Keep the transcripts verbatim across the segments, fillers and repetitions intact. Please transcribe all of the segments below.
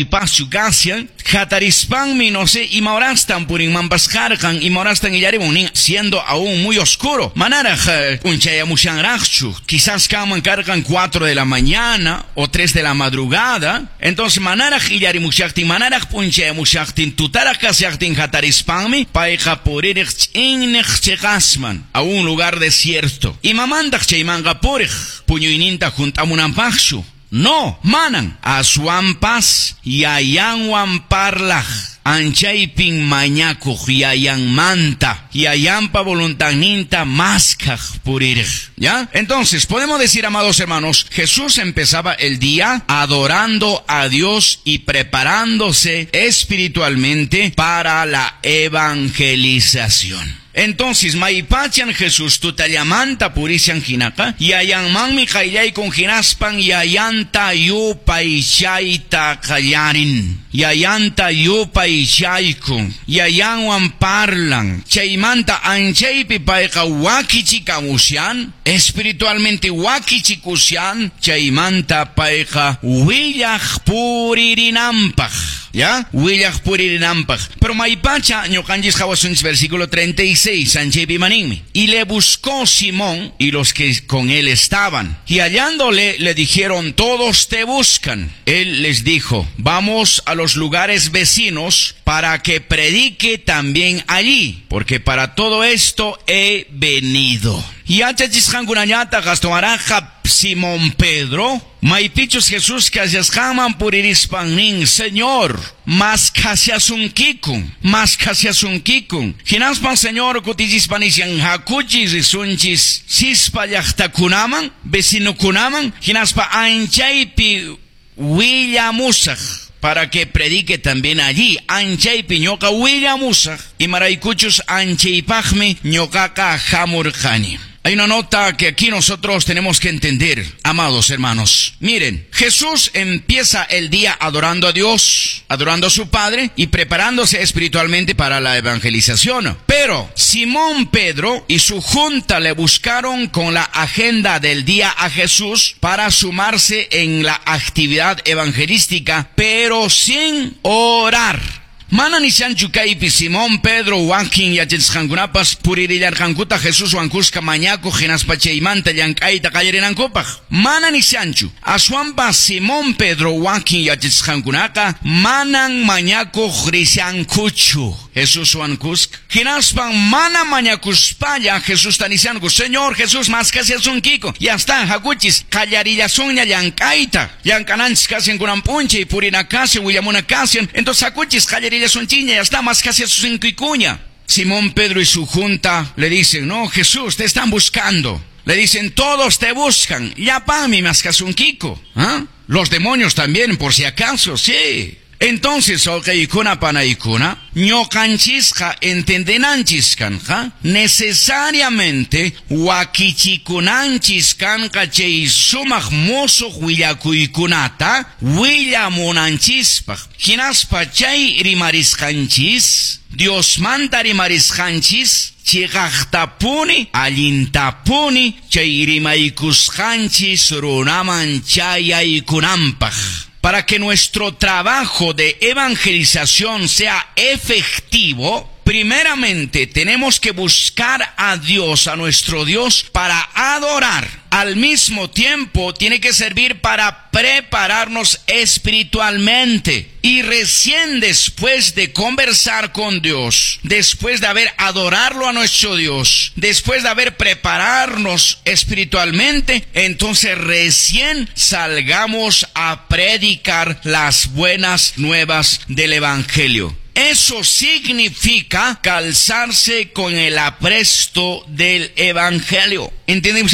Paschu kashan, hatarispanmi, no sé, imahorastan purinmanpas karqan, imahorastan illarimun nin, siendo aún muy oscuro. Manaraq p'unchayamushanraqchu, quizás kanman karqan cuatro de la mañana o tres de la madrugada. Entonces manaraq illarimushaqtin, manaraq p'unchayamushaqtin, tutaraq kashaqtin hatarispanmi, payqa puririq ch'inniq chiqasman, a un lugar desierto. Imamantaq chaymanqa puriq, puñuyninta hunt'amunanpaqchu. No, manan. Aswanpas yayanwan parlaq. Anchaypin mañakuq yayanmanta. Yayanpa voluntadninta maskhaq puririq. ¿Ya? Entonces, podemos decir, amados hermanos, Jesús empezaba el día adorando a Dios y preparándose espiritualmente para la evangelización. Entonces, maypachan Jesús tutallamanta purishan hinaqa, yayanmanmi qayllaykun hinaspan yayanta yupaychayta qallarin. Yayanta yupaychaykun, yayanwan parlan. Chaymanta anchaypi payqa wakichikamushan, espiritualmente wakichikushan, chaymanta payqa willaq puririnanpaq. ¿Ya? Willaq puririnanpaq. Pero maypacha ñuqanchis qhawasunchis versículo treinta y seis, anchaypi maninmi. Y le buscó Simón y los que con él estaban. Y hallándole le dijeron, todos te buscan. Él les dijo, vamos a los lugares vecinos para que predique también allí, porque para todo esto he venido. Y yachachisqankunañataq astawanraqqa Simón Pedro, maypichus Jesús kashasqanman puririspan nin, Señor, maskhashasunkiku, maskhashasunkiku. Hinaspan Señor kutichispan nishan, hakuchis risunchis sispa llaqtakunaman, vecinokunaman, hinaspa anchaypi willamusaq, para que predique también allí. Anchaypi ñuqa willamusaq, imaraykuchus anchaypaqmi ñuqaqa hamurqani. Hay una nota que aquí nosotros tenemos que entender, amados hermanos. Miren, Jesús empieza el día adorando a Dios, adorando a su Padre y preparándose espiritualmente para la evangelización. Pero Simón Pedro y su junta le buscaron con la agenda del día a Jesús para sumarse en la actividad evangelística, pero sin orar. Mana nishanchu kaypi Simón Pedro wakin yachachisqankunapas puririllarqankuta Jesuswan kuska mañakuq hinaspa chaymanta llank'ayta qallarinankupaq. Mana nishanchu. Aswanpas Simón Pedro wakin yachachisqankunaqa manan mañakuq rishankuchu Jesuswan kuska. Hinaspan mana mañakuspalla Jesusta nishanku, Señor Jesús, maskhashasunkiku. Ya está, hakuchis, qallarillasunña llank'ayta. Llank'ananchis kashan kunan p'unchay, purina kashan, willamuna kashan. Entonces hakuchis, qallarillasunchiña, ya está, maskhashasunkicuña. Simón Pedro y su junta le dicen, no, Jesús, te están buscando. Le dicen, todos te buscan. Llapanmi maskhasunkiko. ¿Ah? Los demonios también, por si acaso, sí. Entonces, wawqiykuna panaykuna, ñuqanchisqa entendenanchis kanqa, necesariamente wakichikunanchis kanqa chay sumaq musuq willakuykunata willamunanchispaq. Hinaspa chay rimarisqanchis, Diosmanta rimarisqanchis, chiqaqtapuni, allintapuni, chay rimaykusqanchis runaman chayaykunanpaq. Para que nuestro trabajo de evangelización sea efectivo, primeramente tenemos que buscar a Dios, a nuestro Dios, para adorar. Al mismo tiempo tiene que servir para prepararnos espiritualmente. Y recién después de conversar con Dios, después de haber adorarlo a nuestro Dios, después de haber prepararnos espiritualmente, entonces recién salgamos a predicar las buenas nuevas del Evangelio. Eso significa calzarse con el apresto del Evangelio. ¿Entienden?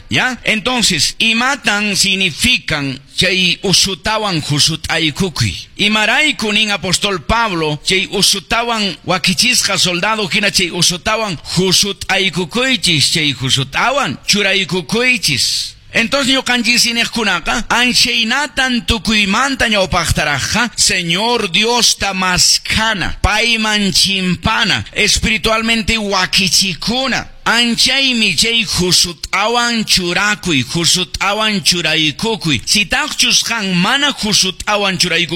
¿Ya? Entonces, imatan significan chay usutawan husut'aykukuy. Imarayku nin apóstol Pablo, chay usutawan wakichisqa soldado hina chay usutawan husut'aykukuychis, chay husutawan churaykukuychis. Entonces ñuqanchis iñiqkunaqa anchaynatan tukuymanta ñawpaqtaraqqa Señor Diosta maskhana, payman chimpana, espiritualmente wakichikuna. Anchaymi chay husut'awan churakuy, husut'awan churaykukuy. Sitaqchus qan mana husut'awan churaykukuy